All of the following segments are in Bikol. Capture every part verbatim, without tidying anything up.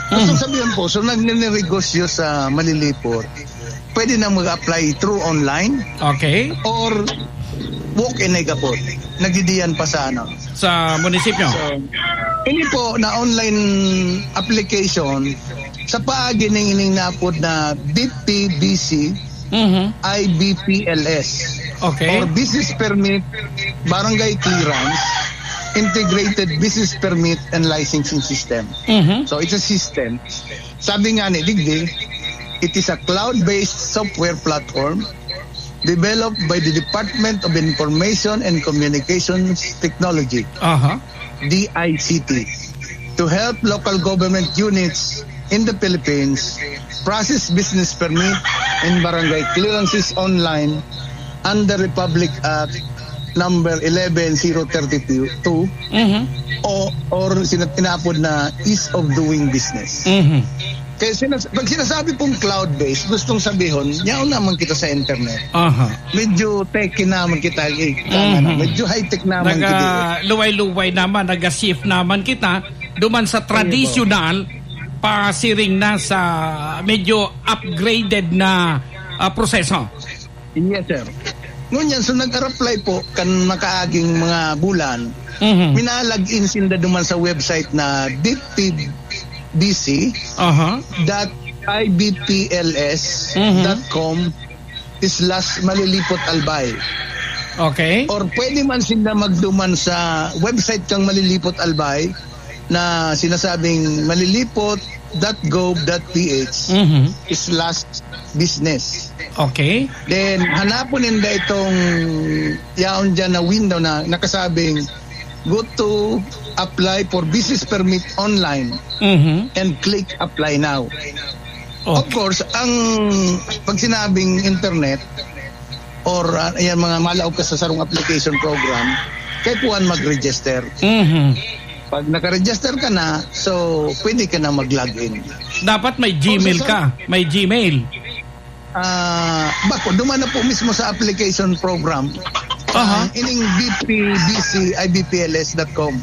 Gusto Mhm. sabihin po, so nagninegosyo sa Malilipot, pwede na mag-apply through online Okay. or walk-in ay kapot. Nagdidiyan pa sa ano. Sa munisipyo? So, ini po na online application sa paagi ning ining naapod na B P B C, Mhm. I B P L S, Okay. or Business Permit, Barangay Clearance, Integrated Business Permit and Licensing System. Mhm. So, it's a system. Sabi nga ni digdi, it is a cloud-based software platform developed by the Department of Information and Communications Technology, Aha. D I C T, to help local government units in the Philippines process business permit and barangay clearances online under Republic Act number eleven zero thirty-two Mhm. o, or sina-, inaapod na ease of doing business. Mhm. Kaya sinas-, pag sinasabi pong cloud-based, gustong sabihon, yaon naman kita sa internet. Aha. Medyo techy naman kita, eh, tama na. Mhm. Medyo high-tech naman kita. Naga-luway-luway naman, naga-shift naman kita duman sa Ayun po. tradisyonal, pasiring na sa medyo upgraded na, ah, proseso. Yes, sir. Ngunyan, so nag-apply po kan makaaging mga bulan, Mhm. mina-log in sinda duman sa website na B P B C Aha. dot I B P L S dot com Mhm. slash Malilipot Albay. Okay. Or pwede man sinda magduman sa website kang Malilipot Albay na sinasabing malilipot dot gov dot P H Mhm. slash business. Okay. Then, hanapon ninda itong yaon dyan na window na nakasabing, "Go to apply for business permit online Mhm. and click apply now." Of Okay. course, ang pag sinabing internet or, ah, ayan, mga malaog ka sa sarong application program, kaipuhan mag-register. Mhm. Pag naka-register ka na, so pwede ka na mag-log in. Dapat may Gmail Kung sa ka. May Gmail. Ah, bako, duman na po mismo sa application program. Aha. Ah, ining B P B C I B P L S dot com.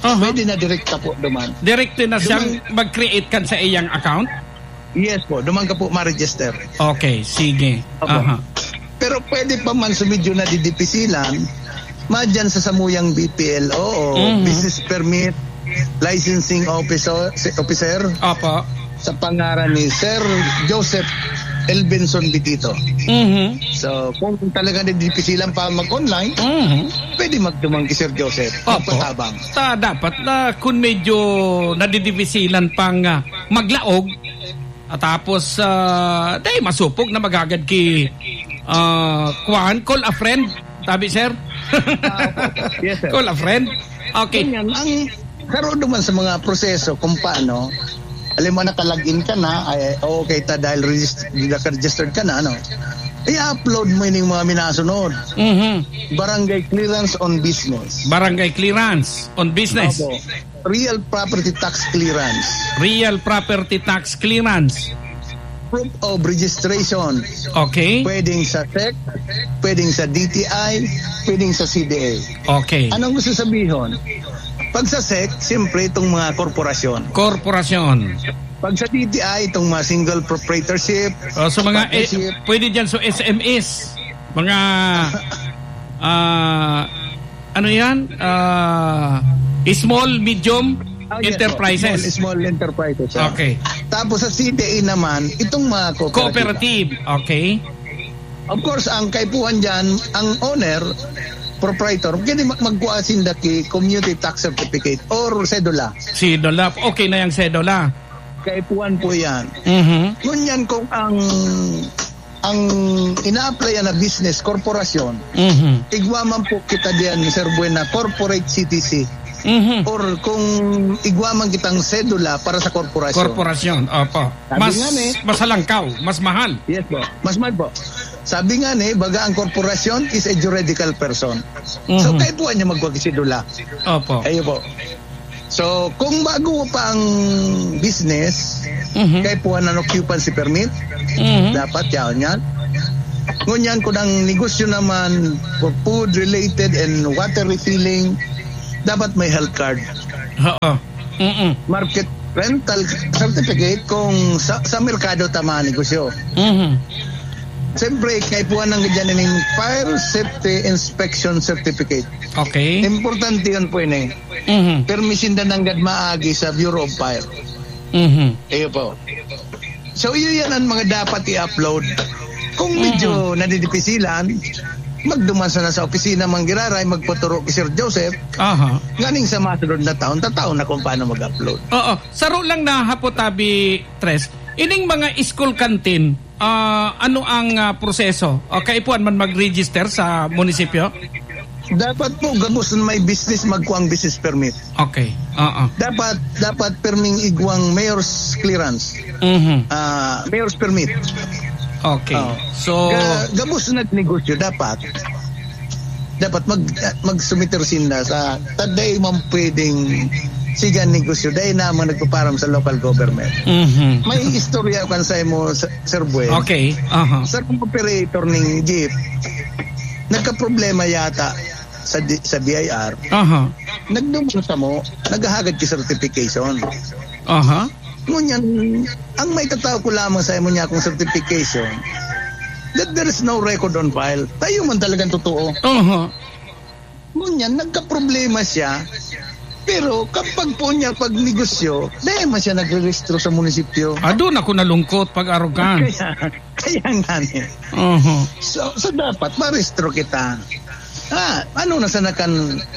Aha. Pwede na direkta po duman. Direkta na siyang Duman mag-create kan sa iyang account? Yes po, duman ka po ma-register. Okay, sige. Opo. Aha. Pero pwede pa man sa medyo nadidipisilan, madyan sa samuyang B P L O o Mhm. business permit, licensing officer, officer Opo. sa pangaran ni Sir Joseph Elvinson Bitito. Mhm. So, kung talaga nadidipisilan pa mag-online, Mhm. pwede magduman kay Sir Joseph. Opo. Magpatabang. Ta-, dapat na kung medyo nadidipisilan pang, ah, maglaog, at tapos, ah, dai masupog na magagad ki, ah, kuwan, call a friend, tabi, sir? Ah, opo, opo. Yes, sir. Call a friend? Okay. Ganyan, ang karoon naman sa mga proseso kung paano, alam mo, naka-log in ka na, ay, okay ta dahil regist-, naka-registered ka na, ano? I-upload mo yung mga minasunod. Mhm. Barangay clearance on business. Barangay clearance on business. Opo. Real property tax clearance. Real property tax clearance. Proof of registration. Okay. Pwedeng sa sec, pwedeng sa D T I, pwedeng sa C D A. Okay. Anong gusto sabihin? Pag sa sec, siyempre itong mga korporasyon. Korporasyon. Pag sa D T I, itong mga single proprietorship, O, sa mga, eh, partnership. Pwede dyan sa S M Es. Mga, ah, ano yan? Ah, small, medium Ah, yes po. Enterprises. Small, small enterprises, ah. Okay. Tapos sa C D A naman, itong mga cooperative. Cooperative. Okay. Of course, ang kaipuhan dyan, ang owner, proprietor, pwede mag-, magkuha sinda ki community tax certificate or sedula. Sedula. Okay na yung sedula. Kaipuhan po yan. Mhm. Ngunyan kung ang, ang ina-applyan na business, korporasyon, Mhm. igwa man po kita diyan, Sir Buen, na corporate C T C. Mhm. Or kung igwa man kitang sedula para sa korporasyon. Korporasyon, opo. Sabi Mas, nga ni mas halangkaw, mas mahal. Yes po, mas mahal po. Sabi nga ni, baga ang korporasyon is a juridical person. So, Mhm. kaipuhan niya magwag sedula. Opo. Ayun po. So, kung bago pa ang business, Mhm. kaipuhan ng occupancy permit, Mhm. dapat yaon yan. Ngunyan, kung ang negosyo naman for food related and water refilling, dapat may health card. Oo. Mm-mm. Market, Rental certificate kung sa, sa merkado ta manegosyo. Mhm. Siyempre, kaipuhan ang ganyan ning Fire Safety Inspection Certificate. Okay. Importante yun po yun eh. Mhm. Permi sinda nanggad maagi sa Bureau of Fire. Mhm. Iyo po. So, iyo yan ang mga dapat i-upload. Kung medyo nadidipisilan, magduman sana sa opisina, Mang Giraray, magpaturo kay Sir Joseph. Aha. Nganing sa masunod na taon, tataon na kung paano mag-upload. Oo. Saro lang na hapot, Abi Tres. Ining mga school canteen, ah, ano ang, ah, proseso? O, kaipuhan man mag-register sa munisipyo? Dapat po, gabos na may business, magkuang business permit. Okay. Oo. Dapat, dapat perming igwang mayor's clearance. Mhm. Ah, mayor's permit. Okay. Oo. So, Ga-, gabos na negosyo, dapat. Dapat mag-, magsumiter sinda sa, ta dai man pwedeng sigan negosyo, dai naman nagpaparam sa local government. Mhm. May istorya kan sa imo, Sir, Sir Buen. Okay. Aha. Sa mga operator ning jeep, nagkaproblema yata sa di-, sa B I R. Aha. Nagduman sa mo, naghahagad ki certification. Aha. Ngunyan, ang maitataw ko lamang sa imo niya kung certification, that there is no record on file. Tayo man talagang totoo. Aha. Ngunyan, nagkaproblema siya. Pero kapag po niya pagnegosyo, dahil man siya nagrerehistro sa munisipyo. Ah, doon ako nalungkot pag arogan. Kaya, kaya nga niya. Aha. So, so dapat marehistro kita. Ah, ano na sana kan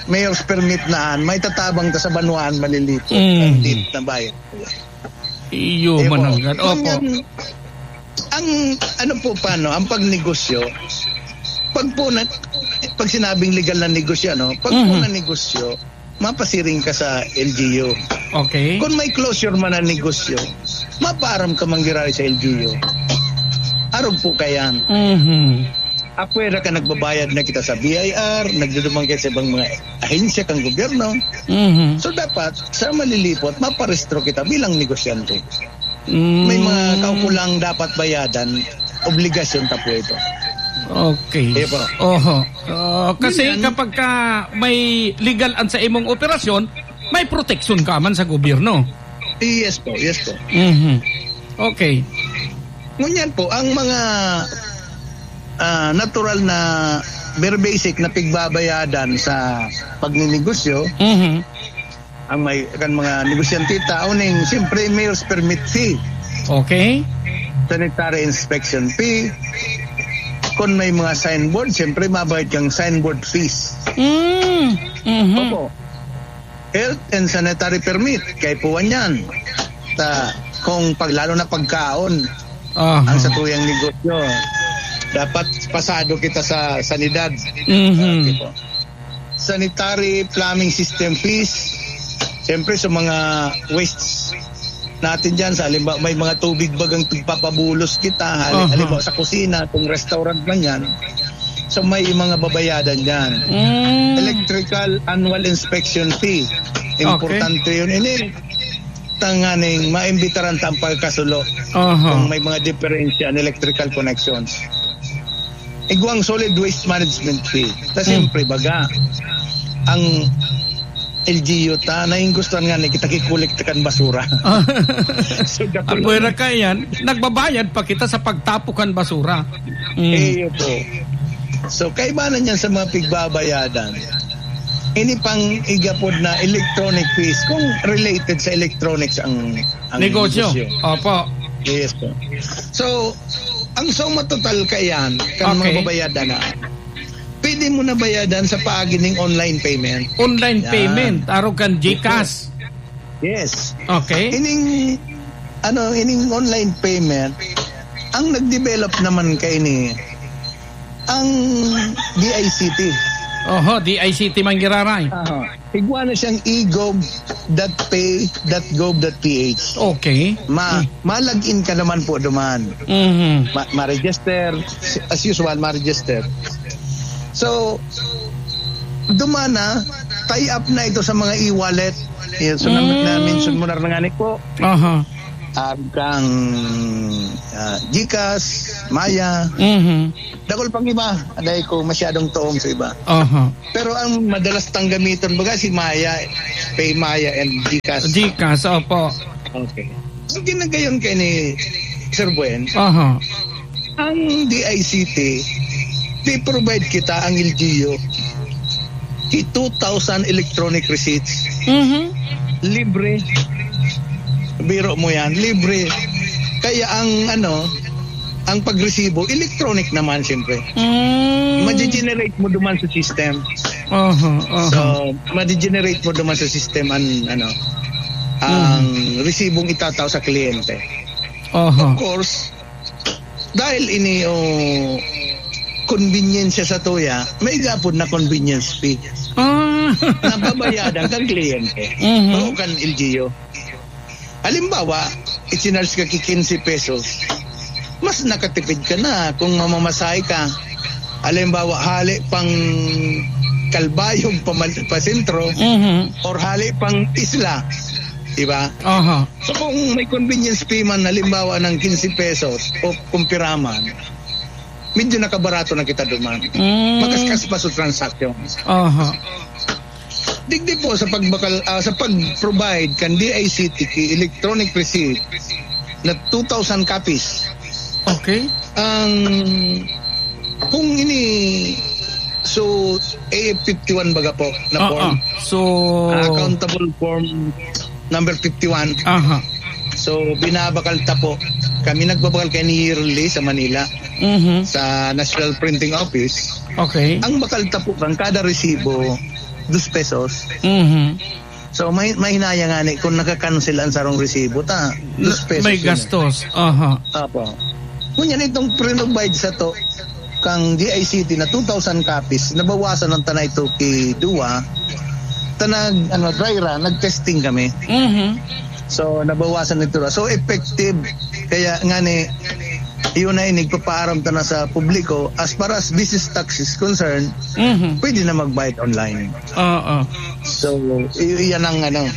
mayor's permit na an, may tatabang ta sa banwaan malilito. Mm. Ang date na bayad. Iyo, Iyo po. mananggad. Opo. Ang, ang, ano po, paano, ang pagnegosyo, pag po na, pag sinabing legal na negosyo, ano, pag po Mhm. na negosyo, mapasiring ka sa L G U. Okay. Kung may closure man ang negosyo, mapaaram ka manggiraray sa L G U. Arog po kayan. Mhm. Apwera ka, nagbabayad na kita sa B I R, nagduduman kita sa ibang mga ahensya kang gobyerno. Mhm. So, dapat, sa malilipot, maparehistro kita bilang negosyante. Mm. May mga kaukulang dapat bayadan, obligasyon ta po ito. Okay. Iyo po. Oho. Ah, kasi Ganyan. kapag ka may legal an sa imong operasyon, may proteksyon ka man sa gobyerno. Yes po, yes po. Mhm. Okay. Ngunyan po, ang mga, ah, natural na very basic na pigbabayadan sa pagninegosyo, Mhm. ang may, kan mga negosyante, tao ning, siyempre, mayor's permit fee. Okay. Sanitary inspection fee. Kung may mga signboard, siyempre, mabayad kang signboard fees. Mm. Mhm. Opo. Health and sanitary permit, kaipuhan yan. Ta, kung pag, lalo na pagkaon, Aha. ang sa tuyang negosyo, dapat pasado kita sa sanidad. Mhm. Okay po. Sanitary plumbing system fees, siyempre sa mga wastes natin dyan, sa halimbawa, may mga tubig bagang pigpapabulos kita, hali-, Aha. halimbawa sa kusina, kung restaurant man yan, so may mga babayadan dyan. Mm. Electrical annual inspection fee, Okay. importante yun. Ini, tanganing maimbitaran ta ang pagkasulo Aha. kung may mga diferensya ang electrical connections. Igwang solid waste management fee. Ta Hmm. siyempre, baga, ang L G U ta, nainggustuhan nga ni kita kikolekta kan basura. Ah. So, dakul- Apwera ka yan, nagbabayad pa kita sa pagtapo kan basura. Mm. Eh, yun po. So, kaibanan yan sa mga pigbabayadan. Ini pang igapod na electronic fees, kung related sa electronics ang, ang Negosyo. negosyo. Opo. Yes po. So, ang suma total kayan, kan Okay. mga babayadan na, pwede mo na bayadan sa paagi ning online payment. Online Yan. payment, arog kan Yes po. GCash. Yes. Okay. Ining, ano, ining online payment, ang nag-develop naman kaini, ang D I C T. Oho, D I C T man giraray. Aha. Igwa na siyang e gov dot pay dot gov dot P H. Okay. Ma-, Hmm. ma-log in ka naman po duman. Mhm. Ma-, ma-register, as usual, ma-register. So, duman na, tie up na ito sa mga e-wallet. Yan, so, na, Mm. na-mention mo na rin nga ni po. Aha. Ah, kang, ah, GCash, Maya. Mhm. Dakul pang iba, dahil ko masyadong tuong sa iba. Aha. Pero ang madalas tang gamiton, baga si Maya, Pay Maya and GCash. GCash, opo. Okay. Ang ginagayon kay ni Sir Buen, Aha. ang D I C T, they provide kita ang L G U. Two thousand electronic receipts. Mhm. Libre. Biro mo yan, libre. Kaya ang, ano, ang pagresibo, electronic naman, siyempre. Mm. Madi-generate mo duman sa system. Aha, aha. So, madi-generate mo duman sa system ang, ano, ang Mhm. resibong itatao sa kliyente. Aha. Of course, dahil ini, oh, convenience sa tuya, may gapon na convenience fee. Ah. Nababayadan kang kliyente Mhm. o kan L G U. Halimbawa, i-charge ka ki quince pesos, mas nakatipid ka na kung mamamasahe ka. Halimbawa, hali pang Calbayog pa, pa sentro Mhm. or hali pang isla. Di ba? Aha. So, kung may convenience fee man, halimbawa ng quince pesos o kumpiraman, medyo nakabarato na kita duman. Mm. Makaskas pa sa transaction. Aha. Digdi po sa pagbakal, ah, sa pag-provide kan D I C T ki electronic receipt na two thousand copies. Okay. Ang, kung ini, so, A F fifty-one baga po na Oo. form. So, Ah, accountable form number fifty-one. Aha. So, binabakal ta po. Kami nagbabakal kay ni yearly sa Manila, Mhm. sa National Printing Office. Okay. Ang bakal ta po kan kada resibo, dos pesos. Mhm. So, may, may hinaya nga ni kung nakakancel ang sarong resibo, ta, dos pesos May yun eh. gastos. Aha. Apo. Ngunyan, itong pre-provide sa to, kang D I C T na two thousand copies, nabawasan ang tanay to ki duwa, tanag, ano, dry run, nag-testing kami. Mhm. So, nabawasan ito. So, effective. Kaya nga ni, yun na, inigpapaaram ta na sa publiko, as far as business tax is concerned, Mhm. pwede na magbayad online. Oo. So, i-, iyan ang ano.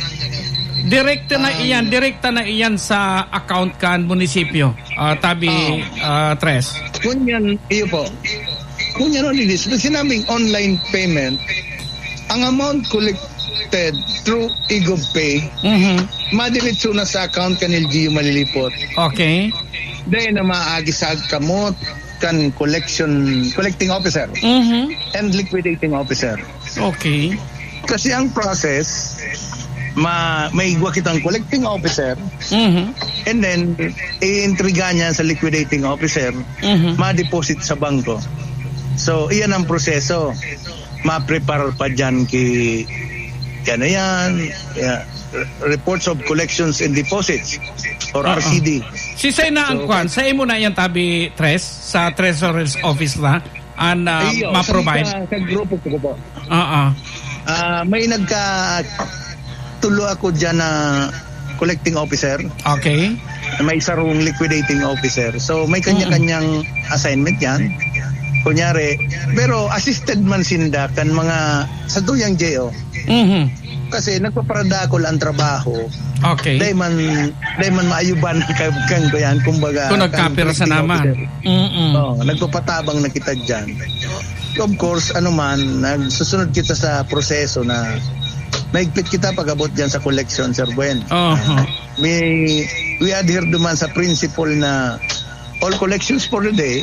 Direkta na Um, iyan, direkta na iyan sa account kan munisipyo, ah, tabi, Oo. ah, Tres. Ngunyan, iyo po. Ngunyan, ano, Lilis, pag sinabing online payment, ang amount collected through eGov Pay, Mhm. madiretso na sa account kan L G U Malilipot. Okay. Dahil na maagi sa kamot kan collection, collecting officer Mhm. and liquidating officer. Okay. Kasi ang process, ma-, may igwa kitang collecting officer, Mhm. and then, i-intriga niya sa liquidating officer, Mhm. ma-deposit sa bangko. So, iyan ang proseso. Ma-prepare pa dyan ki, ano yan, yeah, reports of collections and deposits or Oo. R C D. Si Say na ang So, kwan, sa imo na yan, tabi, Tres, sa Treasurer's Office na? An, ah, Iyo, ma-provide? Sa, sa grupo ko po. Oo. Ah, may nagka-, tulo ako dyan na collecting officer. Okay. May sarong liquidating officer. So, may Mm. kanya-kanyang assignment yan. Kunyari, pero assisted man sinda kan mga sa tuyang J O. Mhm. Kasi nagpaparadakol ang trabaho. Okay. Dahil man, dahil man maayuban kan, kan ko yan, kumbaga, Kung kan nagkapirsa collecting naman. officer. Mm-mm. Oo, nagpapatabang na kita dyan. Of course, ano man, nagsusunod kita sa proseso na mahigpit kita pag-abot dyan sa collection, Sir Buen. Aha. May, we adhere duman sa principle na all collections for the day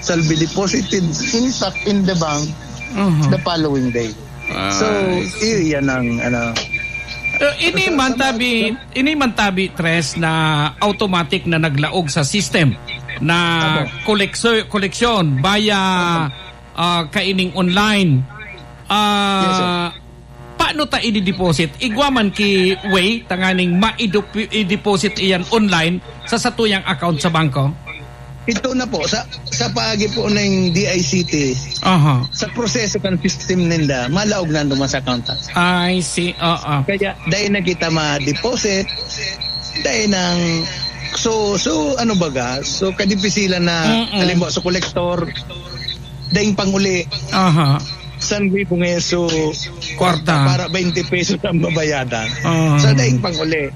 shall be deposited intact in the bank Aha. the following day. So, Ay. iyo yan ang, ano. Eh, ini Sa, man sa tabi, ini man tabi, Tres, na automatic na naglaog sa system na Opo. kolekso-, koleksyon via, Opo. ah, kaining online. Ah, Yes, sir. paano ta i-deposit? Igwa man ki way tanganing ma-, i-deposit iyan online sa satuyang account sa bangko? Ito na po, sa, sa paagi po ng D I C T, Aha. sa proseso kan system ninda, malaog na duman sa account. I see, oo. Kaya, dahil na kita ma-deposit, dahil nang, so, so, ano baga, so, kadipisilan na, Mm-mm. halimbawa, sa kolektor, daing panguli, Aha. san ribu ngayon, so, Kwarta. para twenty pesos ang babayadan. Aha. Sa daing panguli.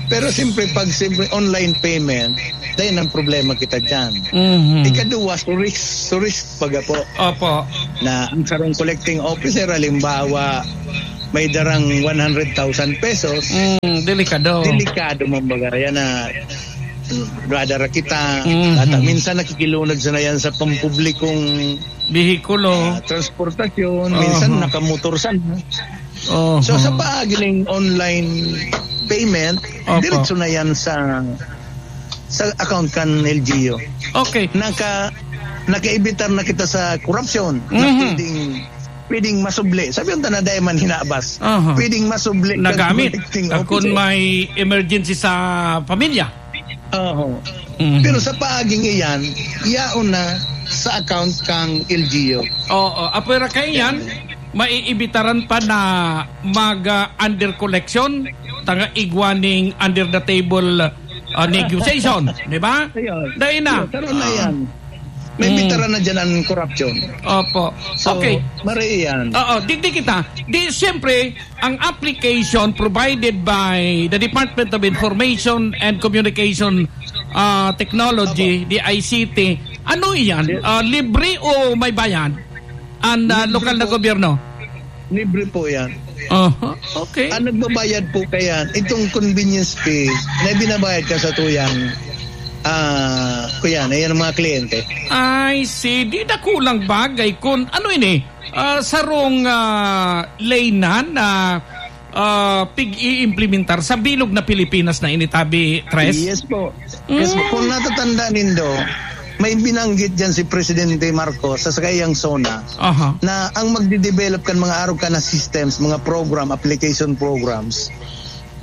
Pero siyempre, pag siyempre online payment, dahil ang problema kita dyan. Mhm. Ikaduwa, so risk, so risk baga po. Opo. Na ang sarong collecting officer, halimbawa, may darang one hundred thousand pesos, Mm, delikado. delikado man baga. Yan na, mm, dadara kita. Mhm. At, ah, minsan nakikilunod sa na yan sa pampublikong, Bihikulo. ah, transportasyon. Minsan Oho. nakamotor sana. Oho. So, sa paagi ning online payment, Opo. diretso na yan sa, sa account kan L G U. Okay. Naka-, nakaibitar na kita sa korupsyon na Mhm. pwedeng, pwedeng masubli. Sabi yung tana, dahil man hinabas. Aha. Pwedeng masubli kan Nagamit. collecting Ah, kung officer. may emergency sa pamilya. Oho. Mhm. Pero sa paaging iyan, yaon na sa account kang L G U. Oo. Apwera kaiyan, maiibitaran pa na mag, ah, under collection, tanga igwa ning under the table, ah, negotiation, di ba? Ayun. Dahil na. Ayun, karoon na Ah. yan. May Mm. bitara na dyan ang korupsyon. Opo. So, Okay. mari yan. Oo, digdi kita. Di, siyempre, ang application provided by the Department of Information and Communication, ah, Technology, Opo. D I C T, ano yan? Yes. Ah, libre o may bayad? Ang, ah, Libre lokal na po. gobyerno? Libre po yan. Aha, okay. Ang nagbabayad po kaya, itong convenience fee na binabayad ka sa tuyang, ah, kuya, na yan ang mga kliyente. I see. Di dakulang bagay kun ano ini? Ah, sarong, ah, laynan na, ah, pig-iimplementar sa bilog na Pilipinas na ini, tabi, Tres? Yes po. Yes po. Mm. Kung natatanda nindo, may binanggit dyan si Presidente Marcos sa sakayang SONA Aha. na ang magde-develop kan mga arog ka na systems, mga program, application programs,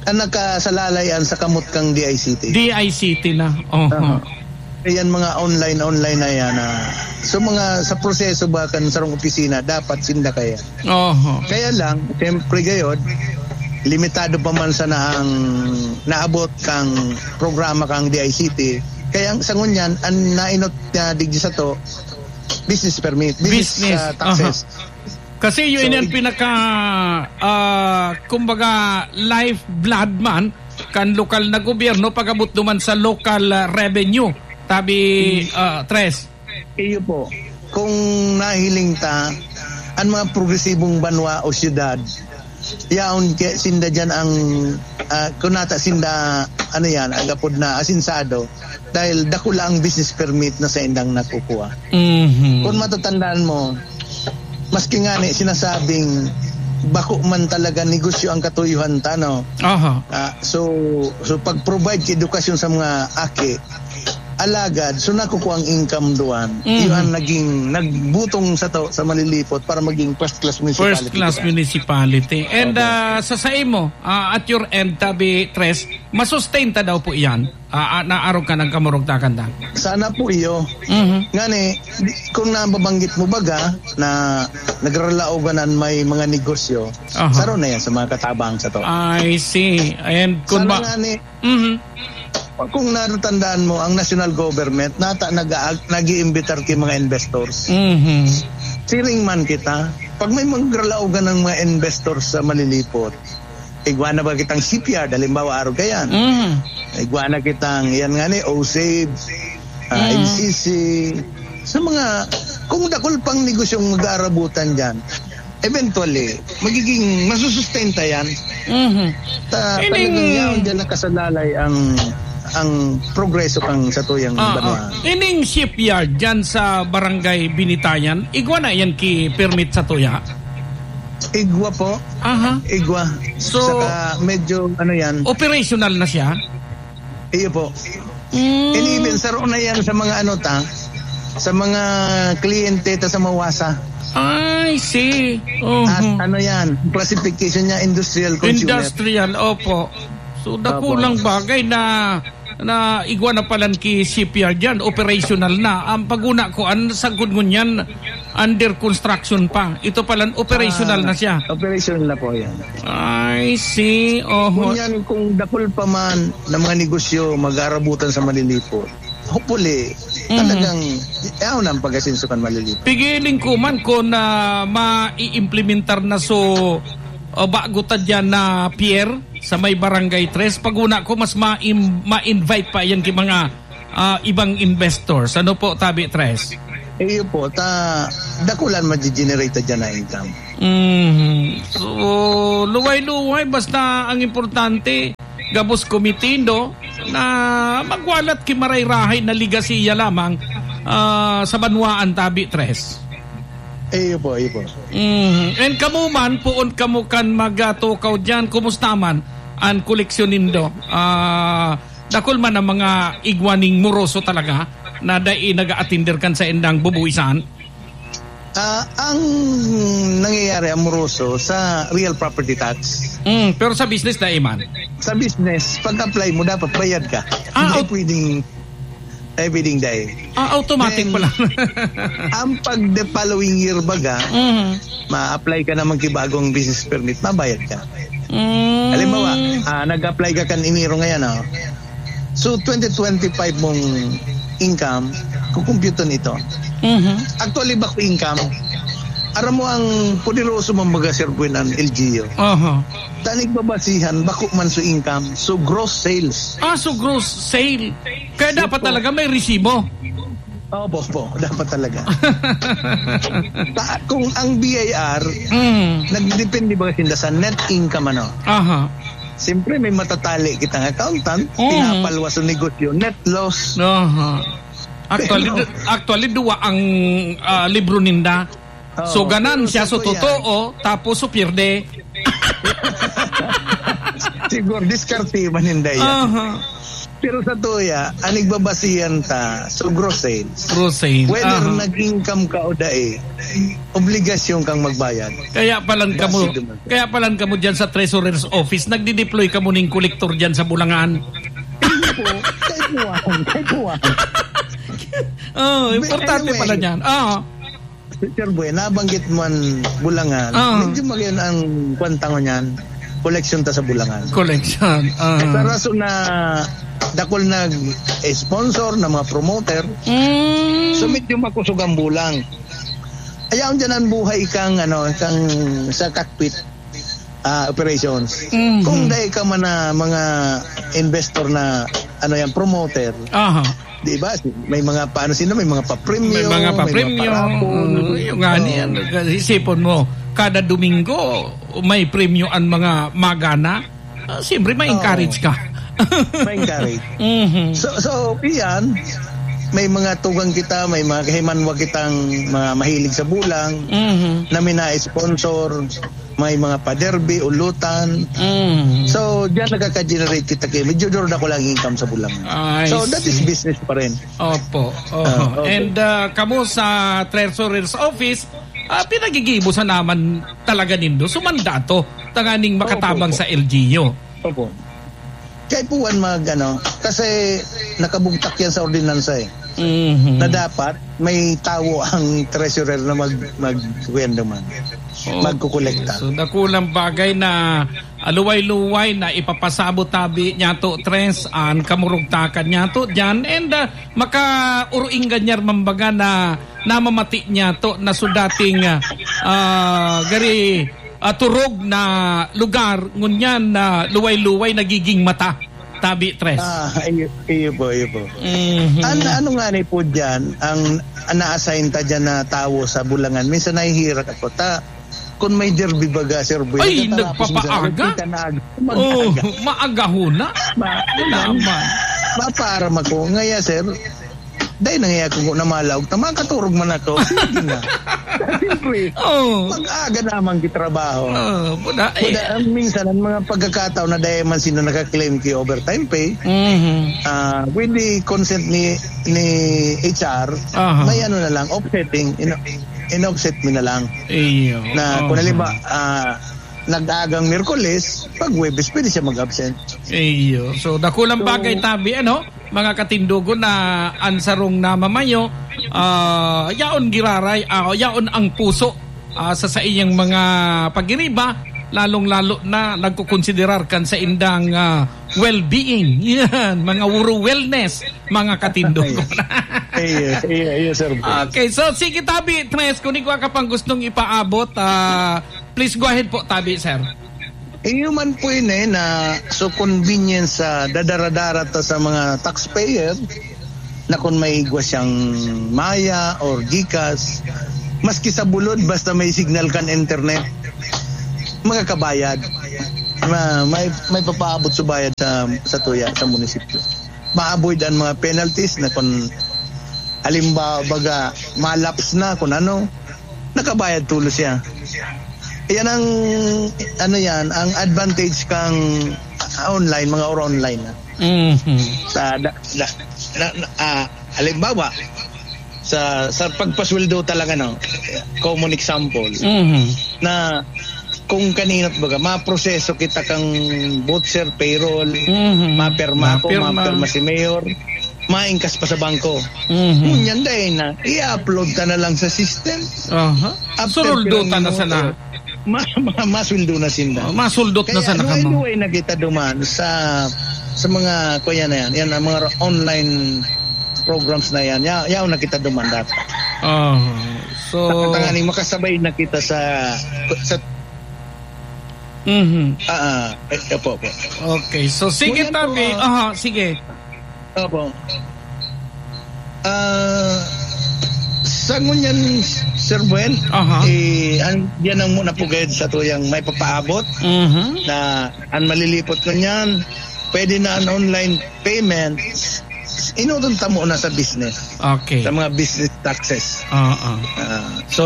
ang nakasalalayan sa kamot kang D I C T. D I C T na. Oho. Aha. Ayan, mga online, online na yan, ah. So, mga sa proseso ba kan sarong opisina, dapat sinda kaya. Oho. Kaya lang, siyempre gayod, limitado pa man sana ang naabot kang programa kang D I C T. Kaya ang sa ngunyan, ang nainot niya digdi sato, business permit, business, Business. ah, taxes. Aha. Kasi yun So, yung ig- pinaka, ah, kumbaga, lifeblood man kan lokal na gobyerno pag-abot naman sa local, ah, revenue. Tabi, Mm. ah, Tres. Iyo po. Kung nahiling ta, ang mga progresibong banwa o syudad, yaon ke-, sinda dyan ang, ah, kunata sinda, ano yan, agapod na asinsado, dahil dakula ang business permit na sa indang nakukuha. Mhm. Kung matatandaan mo, maski nga ni sinasabing bako man talaga negosyo ang katuyuhan ta, no? Aha. Ah, so, so pag-provide ki edukasyon sa mga aki, alagad, so nakukuha ang income duan. Mhm. Yun ang naging, nagbutong sato sa Malilipot para maging first class municipality First class kita. municipality. And, Opo. ah, sa, sa imo, ah, at your end, tabi, Tres, masustain ta daw po iyan? Ah, ah, naarog ka ng kamurugtakan ta? Sana po iyo. Mhm. Ngani, di-, kung nababanggit mo baga na nagralaoganan may mga negosyo, Aha. saro na yan sa mga katabang sato. I see. And kung Sana ba nga ni, Mhm. Kung natatandaan mo, ang national government, nata nag-aag-, nag-iimbitar ki mga investors. Mhm. Siring man kita, pag may magralaogan ng mga investors sa Malilipot, igwa na ba kitang shipyard, halimbawa, arog kayan? Mhm. Igwa na kitang, yan nga ni, O S A B E, ah, Mhm. N C C, sa mga, kung dakul pang negosyong mag-aarabutan dyan, eventually, magiging masusustenta yan. Mhm. Ta-, Ining talagang yaon dyan nakasalalay ang, ang progreso kang satuyang Ah, banwa. ah. Ining shipyard dyan sa Barangay Binitayan, igwa na yan ki permit satuya? Igwa po. Aha. Igwa. So, Saka medyo, ano yan. operational na siya? Iyo po. Mm. And even saro na yan sa mga ano ta, sa mga kliyente ta sa Mawasa. I see. At Mhm. ano yan, classification niya, industrial consumer. Industrial, opo. So, Opo. dakulang bagay na, na igwa na palan ki shipyard yan, operational na. Ang paguna ko, ang sagkod ngunyan, under construction pa. Ito palan, operational Ah, na siya. operational na po yan. I see. Oho. Ngunyan, kung dakul pa man na mga negosyo, mag-aarabutan sa Malilipot. Hopefully, Mhm. talagang, yaon ang pag-asenso kan Malilipot. Pigiling ko man kung, ah, ma-i-implementar na so, ah, bago ta dyan na pier sa may Barangay Tres. Paguna ko, mas ma-im-, ma-invite pa yan ki mga, ah, ibang investors. Ano po, Tabi Tres? Iyo po, ta dakulan magi-generate ta diyan na income. Mhm. So, luway-luway, basta ang importante, gabos kumitindo na magwalat ki maray-rahay na ligasiya lamang, ah, sa banwaan tabi, Tres. Iyo po, iyo po. Mhm. And kamo man, poon kamo kan magatukaw diyan, kumusta man an koleksyon nindo? Ah, dakul man ang mga igwa ning moroso talaga na dai nag-aatender kan saindang bubuwisan? Ah, ang nangyayari, ang moroso, sa real property tax. Mm, pero sa business, dai man. Sa business, pag-apply mo, dapat bayad ka. Ah, Hindi au- pwedeng, eh, pwedeng dai. Ah, automatic Then, pala. ang pag the following year baga, Mhm. ma-apply ka naman ki bagong business permit, mabayad ka. Mm. Halimbawa, ah, nag-apply ka kan Enero ngayon, oh. So, twenty twenty-five mong income, kukumpyuton ito. Mhm. Actually, bako income. Aram mo ang poderoso man baga, Sir Gwen, ang L G U. Aha. Tanig babasihan, bako man so income, so gross sales. Ah, so gross sale. Kaya Yes dapat po. talaga may resibo. Opo, opo. Dapat talaga. Ta-, kung ang B I R, Mm. nagdepende baga sinda sa net income, ano? Aha. Siyempre, may matatali kitang accountant, Mm. pinapalwas ang negosyo, net loss. Aha. Actually, Pero du-, actually, duwa ang, ah, libro ninda. Oo, So, ganansya, pero sa so, tuya, totoo, tapos, so, pierde. Siguro, diskarte man ninda yan. Aha. Pero sa tuya, ang nagbabasihan ta, so, gross sales. Gross sales. Whether Aha. nag-income ka o dai, obligasyon kang magbayad. Kaya palan kamo, Basido man. kaya palan kamo dyan sa Treasurer's Office, nagdi-deploy kamo ning kolektor dyan sa Bulangan. Hindi po. Kaipuhan. Kaipuhan. Oh, But importante anyway, pala niyan. Ah. Sir Boy, nabanggit mo ang Bulangan. Ah. Medyo magayon ang kwanta ko niyan. Koleksyon ta sa Bulangan. Collection. Ah. Sa rason na dakul nag-sponsor na mga promoter, Mm. so medyo makusog ang bulang. Ayaw dyan ang buhay kang, ano, kang sa cockpit, ah, operations. Mhm. Kung dai ka man na mga investor na, ano yan, promoter, Aha. di ba? May mga paano sila, may mga papremyo, May mga may mga papremyo. parapon. Oo, yung nga Oo. niyan. Isipon mo, kada Domingo, may premyo ang mga magana. Ah, siyempre, ma-encourage Oo. ka. Ma-encourage. Mhm. So, so, iyan, may mga tugang kita, may mga kahimanwa kitang mga mahilig sa bulang, Mhm. na mina-sponsor, may mga pa-derby, ulutan. Mhm. So, diyan nakaka-generate kita kay medyo duro na ko lang income sa bulang. I So, that is see. business pa rin. Opo. Oho. Ah, okay. And, ah, kamo sa Treasurer's Office, ah, pinagigibo sa naman talaga nindo. Sumanda to, tanganing Opo, makatabang opo. sa L G U. Opo. Kaipuhan mag, ano, kasi nakabugtak yan sa ordinansa eh. Mhm. Na dapat may tawo ang treasurer na mag, mag, kuwan naman, Okay. magkukolekta. So, dakulang bagay na aluway-luway na ipapasabot tabi niyato, Tres, an kamurugtakan niyato diyan. And, ah, makaurong ganyan man baga na namamati niyato na so dating, ah, ah, gari, ah, turog na lugar, ngunyan na luway-luway nagiging mata. Tabi, Tres. Ah, iyo, iyo po, iyo po. Mhm. An-, ano nga ni po dyan, ang, ang na-assign ta dyan na tawo sa Bulangan, minsan nahihirak ako. Ta, kung may derby baga, Sir Boy, Ay, nagtatara ako sa nagpapaaga? Minsan, nagkita na ag-, Oh, mag-aga. maaga ho na. Ma-, Naman. Mapaaram ako. Ngaya, sir, dahil nangyayari ko na malaog, ta makaturog man ako. Sige na. Siyempre, Oh. mag-aga naman gitrabaho. Oh, buda, eh. Buda, ang minsan, ang mga pagkakataon na dahil man sino nakaklaim ki overtime pay, Mhm. ah, with the consent ni, ni H R, Aha. may ano na lang, offsetting, in, in-offset mi na lang. Iyo. Na kung Aha. halimbawa, ah, nag-aagang Miyerkules, pag Huwebes, pwede siya mag-absent. Iyo. So, dakulang So, bagay tabi, ano? Mga katindogon na an sarong namamayo, ah, yaon giraray, ah, yaon ang puso, ah, sa saiyang mga pagiriba, lalong-lalo na nagkukonsiderar kan saindang, ah, well-being. Yan, mga uro wellness, mga katindogon. Iyo, iyo, iyo, sir. Okay, so sige, tabi, Tres, kung igwa ka pang gustong ipaabot, ah, please go ahead po, tabi, sir. Iyo man po yun eh, na so convenience sa dadaradara ta sa mga taxpayer, na kun may igwa siyang Maya or GCash, maski sa bulod, basta may signal kan internet, makakabayad. Ma-, may, may papaabot sa bayad sa, sa tuya, sa munisipyo. Ma-avoid ang mga penalties na kun halimbawa, baga, malaps na, kun ano, nakabayad tulos siya. Yan ang, ano yan, ang advantage kang, ah, online, mga or online na. Mhm. Sa, da, da, na, na, ah, halimbawa, sa, sa pagpasweldo talaga, no? Common example, Mhm. na kung kanino, baga, maproseso kita kang voucher, payroll, Mhm. mapirma ako, Mapirma. mapirma si mayor, maingkas pa sa bangko. Mhm. Ngunyan dahil na, i-upload ka na lang sa system. Aha. After Suruldo pirang ta na minuto, sana. ma-, ma-, masweldo na sinda. Oh, masuldot na Kaya sana ano, kamo. Anyway, nakita duman sa, sa mga, kuya na yan, yan ang mga online programs na yan. Ya-, yaw nakita duman dapat. Oh, so Tanganing makasabay na kita sa, sa Mhm. Ah, ah, eh, opo, opo. Okay, so sige, Ngunyan po, tabi. ah, Aha, sige. Opo. Ah, sa ngunyan, Sir Buen, Aha. eh, an-, yan ang muna po gayud sa tuyang may papaabot Mhm. na an malilipot ngunyan, pwede na an online payment, inutong ta muna sa business. Okay. Sa mga business taxes. Oo. Ah, So, so,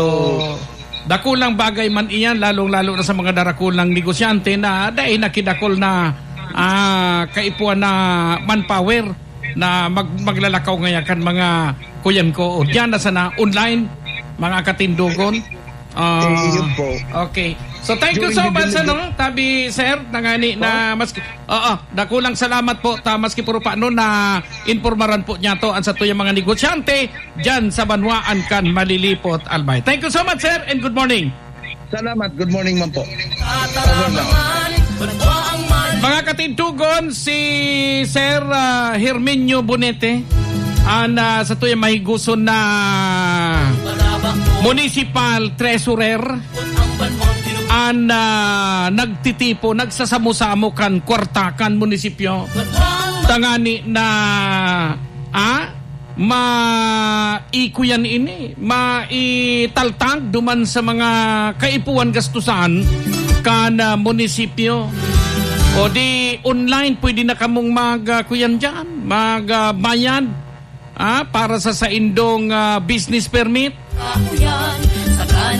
dakulang bagay man iyan, lalong-lalo na sa mga darakulang negosyante na dai nakidakol na, ah, kaipuhan na manpower na mag-, maglalakaw ngaya kan mga kuyan ko. O, diyan na sana, online, mga katindogon. Ah, Eh, yun po. okay. So, thank you During so the much, delivery ano, tabi, sir, nangani na Po? mas, oo, dakulang salamat po, ta, maski puro pa, ano, na impormaran po niya to, ang sa tuyang mga negosyante, diyan sa banwaan kan Malilipot, Albay. Thank you so much, sir, and good morning. Salamat. Good morning man po. Over na. Mga katindogon, si Sir, ah, Herminio Bonete, an, ah, sa tuyang mahiguson na municipal treasurer, an, ah, nagtitipo, nagsasamo-samo kan kwarta kan munisipyo. Tangani na, ah, maikuyan ini, maitaltang duman sa mga kaipuhan gastusan kan, ah, munisipyo. O di online, pwede na kamong mag, ah, kuyan diyan, mag, ah, bayad, ah, para sa saindong, ah, business permit.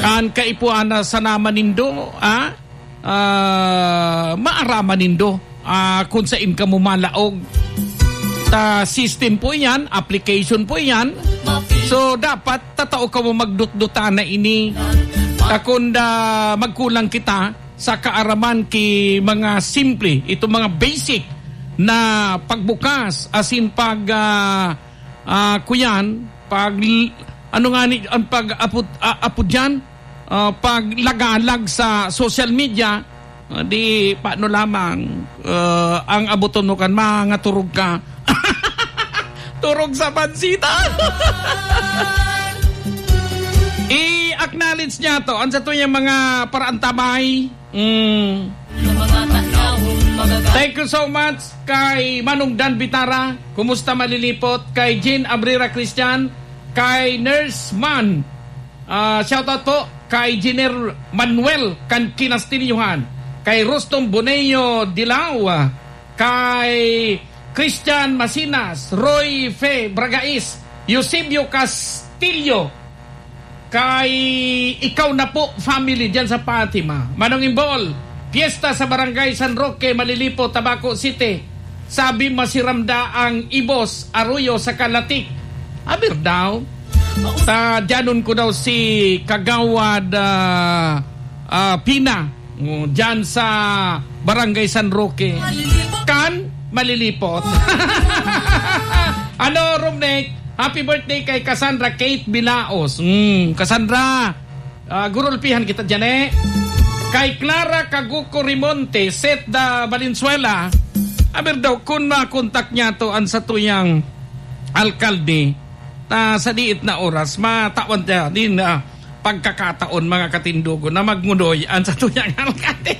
Kan kaipuhan na sana man nindo, ah, ah, maaraman nindo, ah, kung sain kamo malaog. Ta system po iyan, application po iyan. So, dapat tatao kamo magdutdutan na ini. Ta kun, ah, magkulang kita sa kaaraman ki mga simple, itong mga basic na pagbukas, asin pag, ah, ah, kuyan, pag, ano nga ni, ang pag-apod, ah, apod diyan? Ah, paglagalag sa social media, ah, di paano lamang, ah, ang aboton mo kan mga turog ka. Turog sa pansita. I-acknowledge niya to. Ang sa tuyang mga paraantabay. Mm. Thank you so much kay Manong Dan Bitara. Kumusta, Malilipot? Kay Jean Abrera Christian. Kay Nurse Man. Ah, shoutout po kay Engineer Manuel kan Kinastilyohan, kay Rustom Boneo Dilao, kay Christian Masinas, Roy Fe Bragais, Eusebio Castillo, kay Ikaw Na Po family diyan sa Fatima. Manong Imbol, piyesta sa Barangay San Roque, Malilipo, Tabaco City. Sabi, masiram da ang Ibos Arroyo sa Kalatik. Aber daw. Ta, diyanon ko daw si Kagawad, ah, ah, Pina. Oh, diyan sa Barangay San Roque. Kan Malilipot. Ano, Romnek? Happy birthday kay Cassandra Kate Bilaos. Mm, Cassandra, Ah, gurulpihan kita diyan, eh. Kay Clara Caguco Rimonte, Seth da Valenzuela, aber daw, kun makontak niya to an satuyang alkalde, ta sa diit na oras, matawan niya din, ah, pagkakataon, mga katindogon, na magngunoy an satuyang alkalde.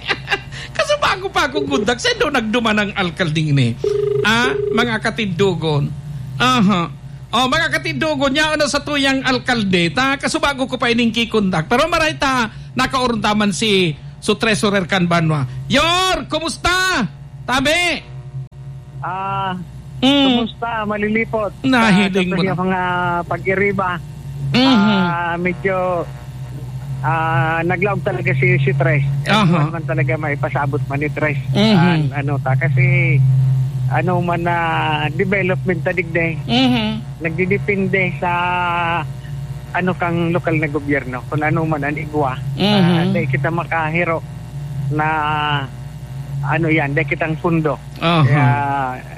Kaso bago pa akong kontak, sino nagduman ang alkaldeng ini? Ah, mga katindogon. Aha. Oh, mga katindogon, yaon na sa tuyang alkalde. Ta, kasubago ko pa ining kikontak. Pero maray ta, nakaoron ta man si su treasurer kan banwa. Yor, kumusta? Tabi? Ah, Mm. kumusta? Malilipot. Nahiling Ah, mo sa na. mga pag-iriba. Mhm. Ah, medyo, ah, naglaog talaga si, si Tres. Aha. Ano man talaga maipasabot man ni Tres. Mhm. An-, ano ta, kasi ano man na development ta digdi. Mhm. Nagdidepende sa ano kang lokal na gobyerno, kung ano man ang igwa. Mhm. Ah, dai kita makahiro na ano yan, dai kitang pundo. Aha. Kaya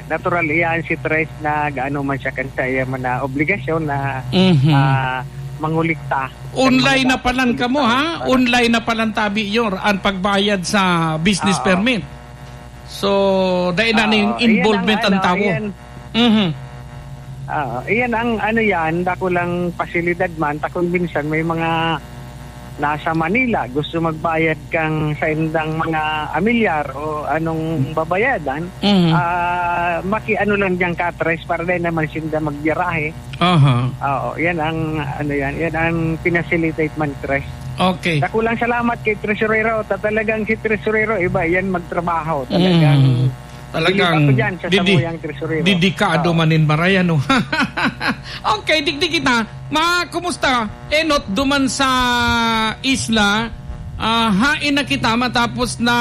natural iyan si Tres na gaano man siya kan sa iya man na obligasyon na, Mhm. ah, mangulikta. Online Kan mga na palan dapat kamo, ha? para Online na palan tabi, Yor, ang pagbayad sa business Oo. permit. So, dai na Oo, ning iyan involvement ang ang ano, tawo. iyan. Mhm. Oo, iyan ang ano yan, dakulang pasilidad man, ta kung minsan may mga nasa Manila, gusto magbayad kang saindang mga amilyar o anong babayadan, Mhm. ah, maki-ano lang dyan ka, Tres, para dai naman sinda magbiyarahe. Aha. Oo, yan ang, ano yan, yan ang pinasilitate man, Tres. Okay. Dakulang salamat kay Tresurero. Ta-, talagang si Tresurero, iba yan magtrabaho. Talagang Mm. Talagang bilib ako dyan sa didi-, samuyang Tresurero. dedikado Oo. man nin maray, ano? Okay, digdi kita. Ma, kumusta? Enot, duman sa isla, ah, hain na kita matapos na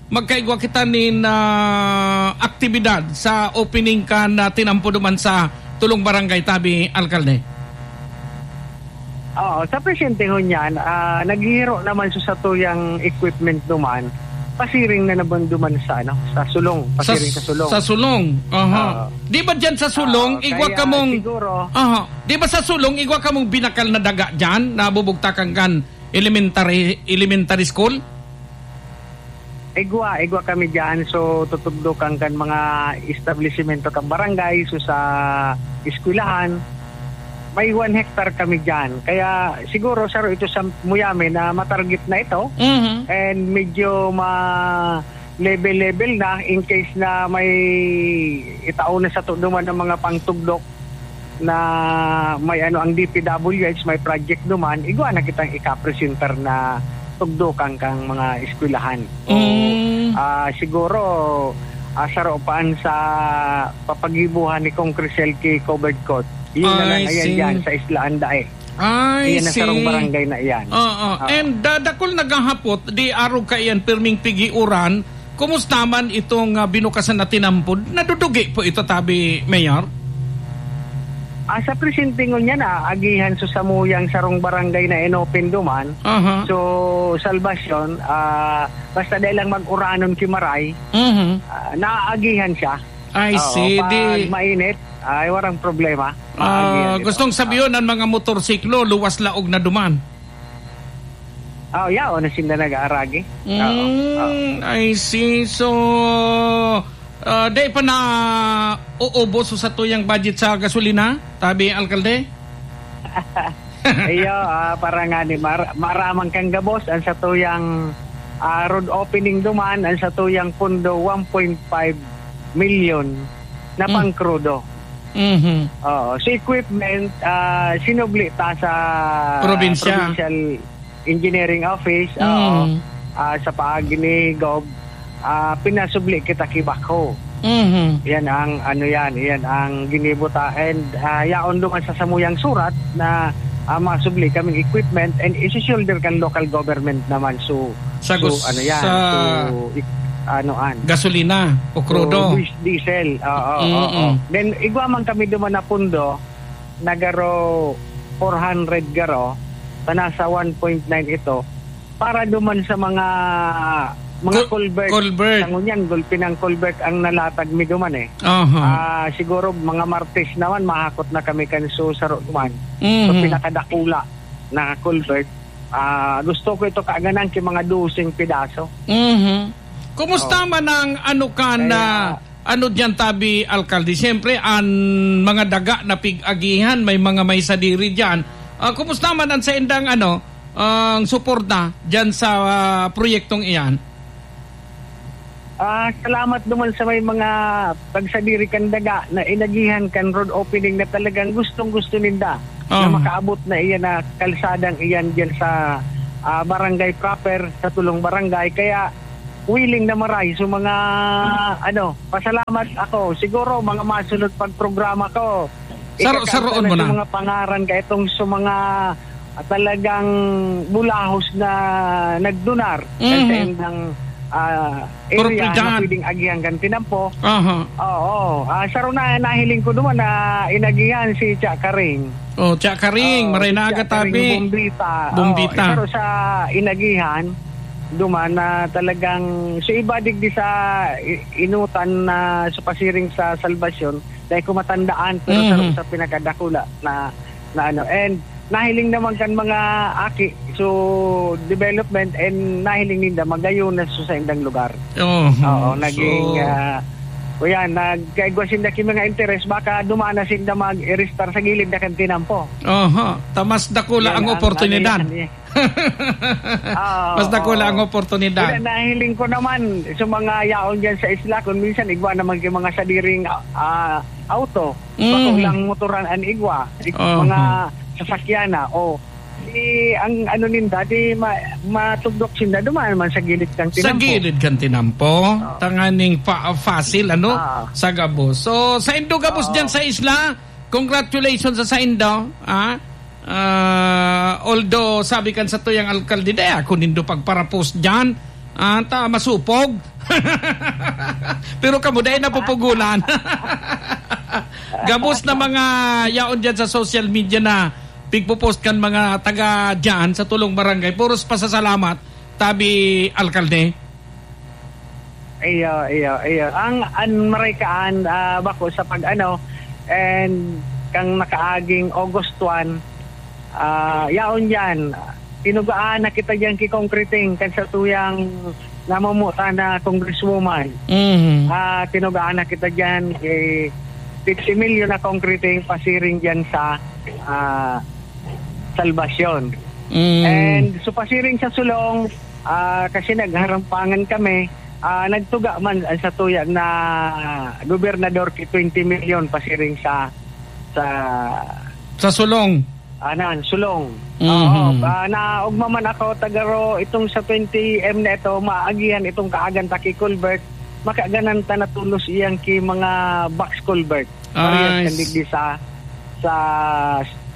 magkaigwa kita nin, ah, aktibidad sa opening kan, ah, tinampo duman sa tulong barangay tabi, alkalde? Oo, sa presente ngunyan, ah, naghihiro naman sa satuyang equipment duman, pasiring na naman duman sa, ano, sa Sulong, Sa pasiring sa s-, Sulong. sa Sulong, aha. Oo. Di ba dyan sa Sulong, Oo, igwa kaya kamong siguro Aha. Di ba sa Sulong, igwa kamong binakal na daga dyan, nabubugtakan kan elementary, elementary school? Igwa, igwa kami diyan. So, tutugdokan kan mga establisimento kan barangay, so sa eskwelahan, may one hectare kami diyan. Kaya siguro, saro ito sa muyame na matarget na ito. Mhm. And medyo ma-level-level na in case na may itao na sa tuduman ng mga pangtugdok. Na may ano, ang D P W H, may project duman, igwa na kitang ikapresentar na tugdokan kang mga eskwelahan. So, Mm. ah, siguro, ah, saropaan sa papagibuhan ni Kong Crisel K covered court. Yun na lang, I ayan see. Yan, sa Isla Andae. I Iyan na see. Sarong barangay na iyan. Oo. Ah. And, ah, dakul naghahapot, di arog kaiyan pirming pigiuran, Kumusta man itong, ah, binukasan na tinampod? Nadudugi po ito, tabi, Mayor? Ah, sa presente ngunyan, ah, agihan sa samuyang sarong barangay na inopen duman. Aha. So, Salvacion, ah, basta dai lang mag-uranon ki maray, Mhm. ah, naaagihan siya. I Oo, see. Pag Di mainit, ay, warang problema. Ah, Maagihan ito. gustong sabiyon, ang mga motorsiklo, luwas laog na duman. Ah, yaon na sinda nag-aaragi. Oo, oo. Mm, I see. So, ah, dai pa na uubos sa tuyang budget sa gasolina, tabi, alkalde? Iyo, ah, para nga ni mar-, maramang kang gabos, ang sa tuyang, ah, road opening duman, ang sa tuyang pundo, one point five million na Hmm. pang krudo. Mhm. Oo. Sa equipment, ah, sinubli ta sa Probinsya. Provincial Engineering Office, oo. Mm. Ah, sa paagi ni Gov, ah, pinasubli kita ki backhoe. Mhm. Yan ang, ano yan, yan ang ginibo ta. And, ah, yaon duman sa samuyang surat na, ah, masubli kaming equipment and isi-shoulder kan local government naman. So, Sa so, gus-, ano yan, sa so, ik-, ano, an. gasolina o So, krudo. dis-, diesel, oo, oo, Mm-mm. oo. Then, igwa man kami duman na pundo, na garo four hundred garo, ta nasa one point nine ito, para duman sa mga, mga Cul-, culvert. culvert. Sa ngunyan, gulpi ng culvert ang nalatag mi duman eh. Aha. Ah, siguro mga Martes naman, mahakot na kami kan so saro duman. Mhm. So, pinakadakula na culvert. Ah, gusto ko ito kaaganan ki mga doseng pedaso. Mhm. Kumusta Oh. man ang ano ka na Kaya, ano diyan, tabi, alkalde? Siyempre, ang mga daga na pig-agihan, may mga may sadiri diyan. Ah, kumusta man ang saindang, ano, ang suporta diyan sa, ah, proyektong iyan? Ah, salamat naman sa may mga pagsadiri kan daga na inagihan kan road opening na talagang gustong-gusto ninda na Oo. makaabot na iyan na kalsadang iyan diyan sa, ah, barangay proper, sa tulong barangay. Kaya willing na maray. So, mga, ano, pasalamat ako. Siguro, mga masunod pagprograma ko, Saro-, ikakanta saroon na mo sa na. mga pangaran ka itong sa mga, ah, talagang bulahos na nagdunar sa Mhm. saindang, ah, area Propiedad. na pwedeng agihan kan tinampo. Aha. Oo. Ah, saro na, nahiling ko naman na inagihan si Cha Karing. Oh, Cha Karing, Oh, maray si na Cha aga Karing tabi. Bombita. Bombita. Oh, saro sa inagihan, duman na talagang, so iba digdi sa i-, inutan na sa pasiring sa Salvacion, dahil ko matandaan, pero Mhm. saro sa pinakadakula na, na ano. And nahiling naman kan mga aki, so development and nahiling ninda magayon na sa saindang lugar. Oo, Oo, naging, so ah, o yan, nagkaigwa sinda ki mga interes, baka dumana sinda mag-iristar sa gilid na kan tinampo. Aha, ta mas dakula Yan ang ang oportunidad. ano yan, eh. Ah, Mas dakula oo. ang oportunidad. Kaya nahiling ko naman sa mga yaon dyan sa isla, kung minsan igwa naman yung mga sadiring, ah, auto, bako Mhm. lang motoran an igwa, ig-, Aha. mga sasakyan na, o, di ang ano ninda, di ma-, matugdok sinda, dumaan man sa gilid kang Sa tinampo. gilid kang tinampo, Oo. tanganing pa-, facil, ano, Ah. sa gabos. So, sa indo gabos Oo. dyan sa isla, congratulations sa, sa indo, ah. Ah, although, sabi kan satuyang alkalde, "Dai ako nindo pagparapos diyan, ah, ta masupog." Pero kamo, dai napupugulan. Gabos na mga yaon diyan sa social media na pigpo-post kan mga taga diyan sa tulong barangay. Puros pasasalamat, tabi, alkalde. Iyo, iyo, iyo. Ang, an maray kaan, ah, bako sa pag-ano, and kang nakaaging August one, ah, yaon yan, tinugaan na kita diyan ki concreting kan satuyang namumuta na congresswoman. Mhm. Ah, tinugaan na kita diyan ki fifty million na concreting pasiring diyan sa, ah, Salvacion. Mm. And so pasiring sa Sulong, ah, kasi nagharampangan kami, ah, nagtuga man ang satuya na gobernador ki twenty million pasiring sa, sa Sa Sulong. Anan, Sulong. Mhm. Oo, ah, naogma man ako, tagaro, itong sa twenty M na ito, maagihan itong kaagan ta ki culvert, makaganan ta na tulos iyang ki mga box culvert. Parehas Ay, kan digdi sa, sa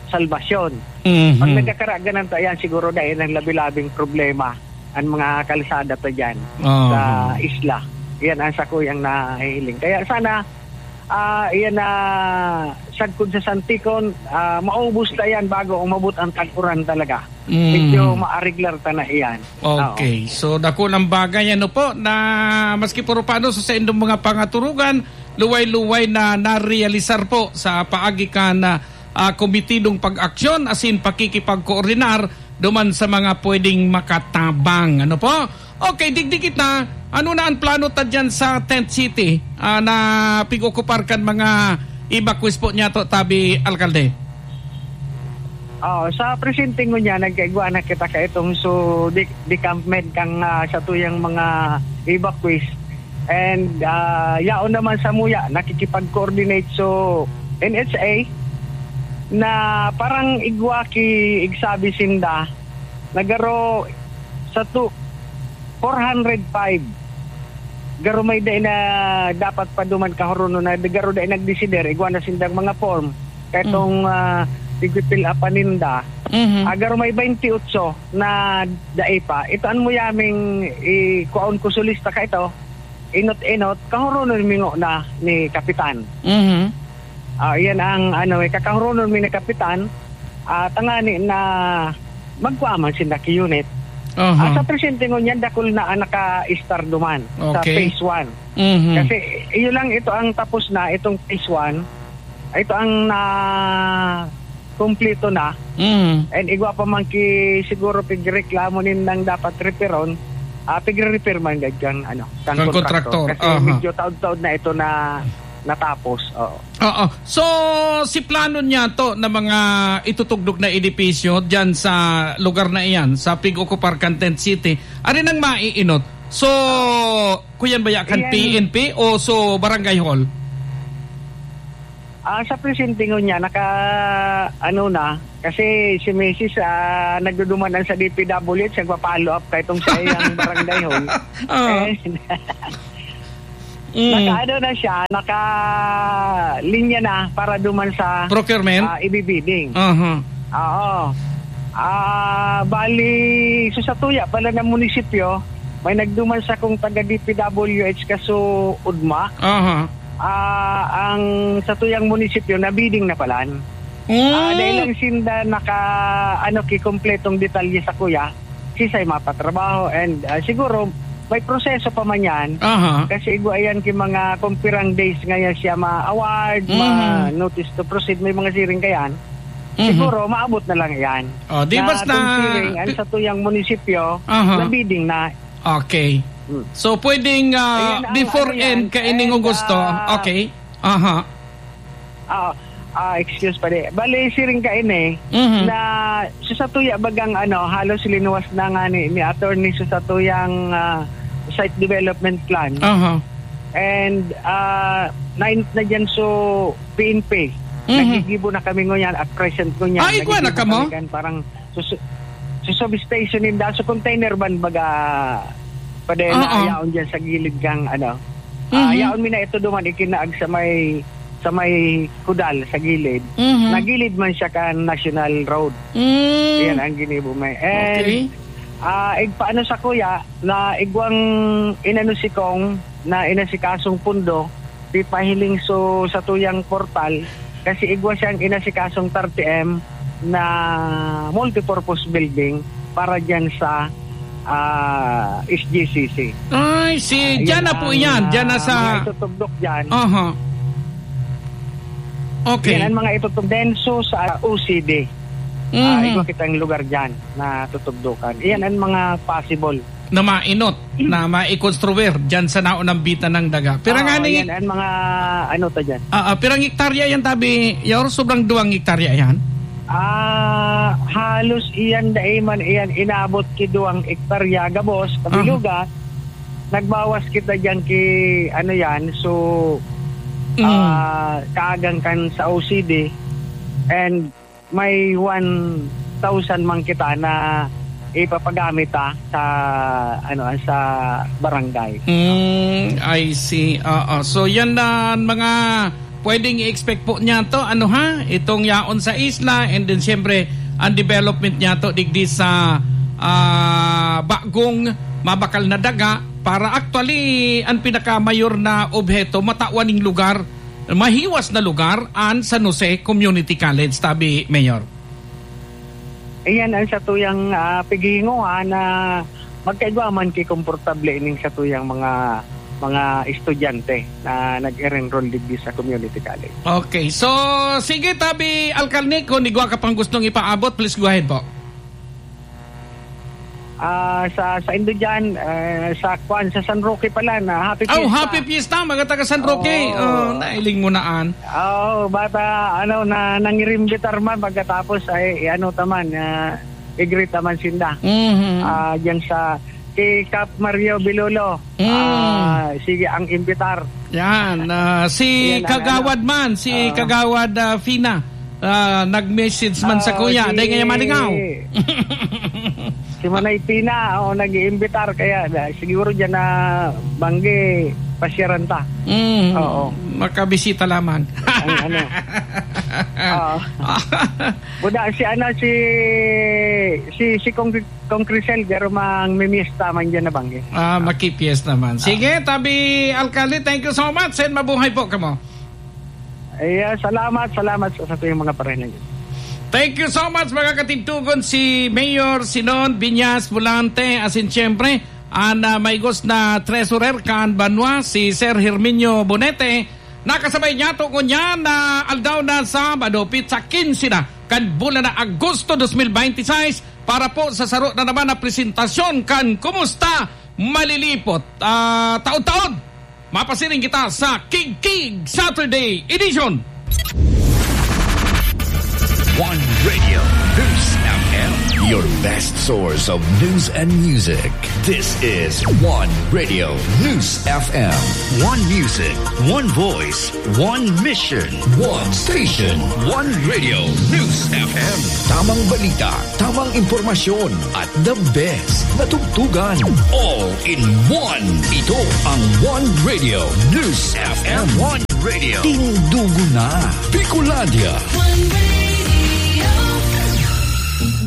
Salvacion. Mhm. Pag nagkakaraganan ta yan, siguro dahil ang labi-labing problema, ang mga kalsada ta dyan Aha. sa isla. Yan ang sakuyang nahihiling. Kaya sana, ah, yan na sagkod sa Santikon, ah, maubos na yan bago umabot ang tag-uran talaga. Mm. Medyo maariglar ta na iyan. Oo. Okay. So, dakulang bagay, ano po, na maski puro paano sa saindong mga pangaturugan, luway-luway na narealisar po sa paagi kan, ah, ah, komitidong pag-aksyon asin pakikipagkoordinar duman sa mga pwedeng makatabang. Ano po? Okay, digdi kita. Ano na ang plano ta dyan sa Tent City, ah, na pig-okupar kan mga evacuees po niya to, tabi, alkalde? Oo, sa presente ngunyan, nagkaigwa na kita kaitong so de-, decampment kang, ah, satuyang mga evacuees. And, ah, yaon naman sa muya, nakikipag-coordinate so N H A na parang igwa ki igsabi sinda, nagaro sa tu-, four hundred five. Garo may dai na dapat paduman kahuronon na garo dai nagdesider, igwa na sindang mga form. Kaitong, Mm. ah, igpipil-apan ninda. Mhm. Ah, garo may twenty-eight na dai pa. Ito an muyaming i-, kuaon ko sa lista ka ito. Inot-inot, kahuronon mingo na ni Kapitan. Mhm. Ah, iyan ang, ano, eh, kakahuronon mi ni Kapitan, ah, tangani na magkua man sinda ki unit. Aha. Ah, sa presente ngunyan, dakul na ang naka-start duman sa Okay. phase one. Mhm. Kasi iyo lang ito ang tapos na, itong phase one. Ito ang na kumpleto na. Mhm. And igwa pa man ki siguro pigreklamo nindang dapat reperon, ah, pigre-repair man gad kan, ano, kan Kan kontraktor. kontraktor. Kasi Aha. medyo taod-taod na ito na natapos. Oo. Oo. So, si plano niya to na mga itutugdok na edipisyo diyan sa lugar na iyan, sa pig-okupar kan Tent City, ari nang maiinot, So, kuyan baya kan Iyan. P N P o so barangay hall? Ah, sa presente ngunyan, naka, ano na, kasi si misis, ah, nagduduman sa D P W H, nagpa-follow up kay itong sa iyang barangay hall. Ah. Eh, Mm. naka, ano na siya, naka linya na para duman sa, Procurement? ah, ibibidding. Aha. Oo. Ah, bali, so sa tuya pala ng munisipyo, may nagduman sa kung taga D P W H kaso ugma. Aha. Ah, ang sa tuyang munisipyo, na-bidding na palan. Mm. Ah, dahil lang sinda naka, ano, kikumpletong detalye sa kuya, sisay mapatrabaho, and, ah, siguro, may proseso pa man yan. Aha. Kasi igwa yan ki mga kumpirang days ngayon siya ma-award, Mhm. ma-notice to proceed, may mga siring kayan. Mhm. Siguro, maabot na lang yan. Oh, di Na basta considering, ang pi- sa tuyang munisipyo, Aha. na-bidding na. Okay. Hmm. So, pwedeng, ah, Ayan ang before ano yan, end, kaining and, Augusto. ah, Okay. Aha. Ah, ah, excuse pa di. Bale, siring ka ini, Mhm. na so sa tuya bagang ano, halos linuwas na nga ni, ni attorney so sa tuyang, ah, site development plan. Aha. And, ah, nainot na dyan so P N P. Mhm. Naggigibo na kami ngunyan at present ngunyan. Ah, igwa na Naggigibo kamo? kami kan parang so, so, so substation ninda. So container van baga pwede Oo. na yaon dyan sa gilid kang ano. Ah, Mhm. yaon mi na ito duman ikinaag sa may, sa may kudal sa gilid. Mhm. Nagilid man siya kan National Road. Mm. Yan ang ginibo may. And, Okay. ah, igpaano sa kuya na igwang inano si Kong na inasikasong pundo, pipahiling so sa tuyang portal, kasi igwa siyang inasikasong thirty M na multipurpose building para dyan sa, ah, S G C C. Ay, si, Ah, dyan yan na po ang, yan. Dyan na ah, sa mga itutugdok dyan. Aha. Okay. Yan ang mga itutugdok. Then, so, sa O C D. Mhm. Ah, igwa kitang lugar dyan na tutugdukan. Yan ang mga possible. Na mainot, na maikonstruir dyan sa naunambitan ng daga. Pero Ah, nga ni yan ang mga, ano to dyan. Ah, ah, pirang hektarya yan, tabi, Yor? Sobrang duwang hektarya yan? Ah, halos iyan dai man iyan inabot ki duwang hektarya gabos, Aha. kabilugan. Nagbawas kita diyan ki, ano yan, so, Mm. ah, kaagang kan sa O C D, and may one thousand man kita na ipapagamit, ah, sa, ano, sa barangay. Mm, I see. Oo. So, yan na ang mga pwedeng i-expect po niya to, ano ha? Itong yaon sa isla, and then siyempre, ang development niya to, digdi sa, ah, bagong mabakal na daga, para actually, ang pinakamayor na obheto, matawan ning lugar, mahiwas na lugar, ang San Jose Community College, tabi, Mayor. Iyan ang satuyang, ah, pighihinguhan na magkaigwa man ki komportable ining satuyang mga, mga estudyante na nag-enroll digdi sa community college. Okay. So, sige, tabi, Alkalde, kung igwa ka pang gustong ipaabot, please go ahead po. Ah, sa, sa indo dyan, eh, sa kwan, sa San Roque pala, na happy Oh, fiesta. Happy fiesta, mga taga San Roque. Oo. Oh, nailing mo na an. Oo, bata, ano, na, nangirimbitar man, pagkatapos ay, ano taman, ah, i-greet naman sinda. Mhm. Ah, dyan sa, si Cap Mario Bilolo. Mm. Ah, sige, ang imbitar. Yan, ah, si Yan ang Kagawad ano. man, si Ah. Kagawad, ah, Fina, ah, nag-message man sa Ah, kuya, si dahil ngayon malingaw. Si Manay Pina, oh, nag-iimbitar, kaya na, siguro dyan na banggi, pasyaran ta. Mm, Oo. makabisita lamang. Ang ano. Oo. Buda, si ano, si, si, si Kong, Kong Crisel, garo mang mimiesta man dyan na banggi. Ah, makipiesta man. Sige, tabi, Alkalde, thank you so much, and mabuhay po kamo. Ay, ah, salamat, salamat sa, sa tuyang mga pareha na yun. Thank you so much, mga katigtugon, si Mayor Sinon Viñas Volante, asin siyempre, an, ah, maigos na treasurer kan banwa, si Sir Herminio Bonete, nakasabay niyato ngunyan na aldaw na Sabado, petsa quince na, kan bulan na Agosto dos mil veintiseis, para po sa saro na naman na presentasyon kan Kumusta Malilipot, ah, taod-taod. Mapasiring kita sa Kigkig Saturday Edition. One Radio News F M, your best source of news and music. This is One Radio News F M. One music, one voice, one mission, one station. One Radio News F M. Tamang balita, tamang impormasyon, at the best na tugtugan. All in one. Ito ang One Radio News F M. One Radio. Tindugo na. Bicolandia.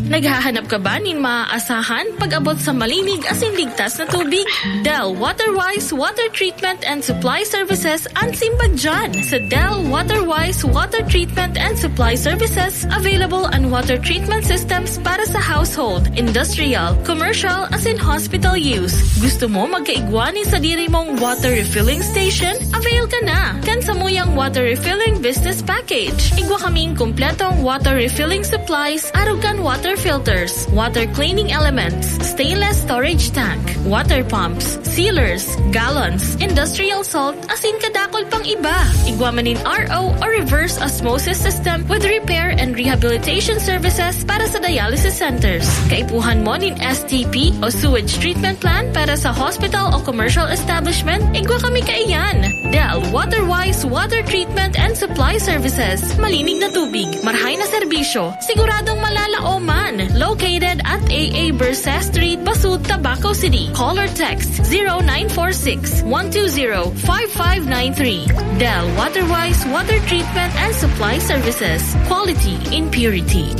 Naghahanap ka ba nin maaasahan pag-abot sa malinig asin ligtas na tubig? Del Waterwise Water Treatment and Supply Services an simbag dyan. Sa Del Waterwise Water Treatment and Supply Services, available an water treatment systems para sa household, industrial, commercial, asin hospital use. Gusto mo magkaigwa nin sadiri mong water refilling station? Avail ka na kan samuyang water refilling business package. Igwa kaming kompletong water refilling supplies, arog kan water filters, water cleaning elements, stainless storage tank, water pumps, sealers, gallons, industrial salt, asin kadakol pang iba. Igwa man nin R O o reverse osmosis system with repair and rehabilitation services para sa dialysis centers. Kaipuhan mo nin S T P o sewage treatment plant para sa hospital o commercial establishment? Igwa kami kaiyan. Del Waterwise Water Treatment and Supply Services. Malinig na tubig, marhay na serbisyo, siguradong malalaoman. Located at A A Berse Street, Basud, Tabaco City. Call or text zero nine four six, one two zero, five five nine three. Del Waterwise Water Treatment and Supply Services. Quality in purity.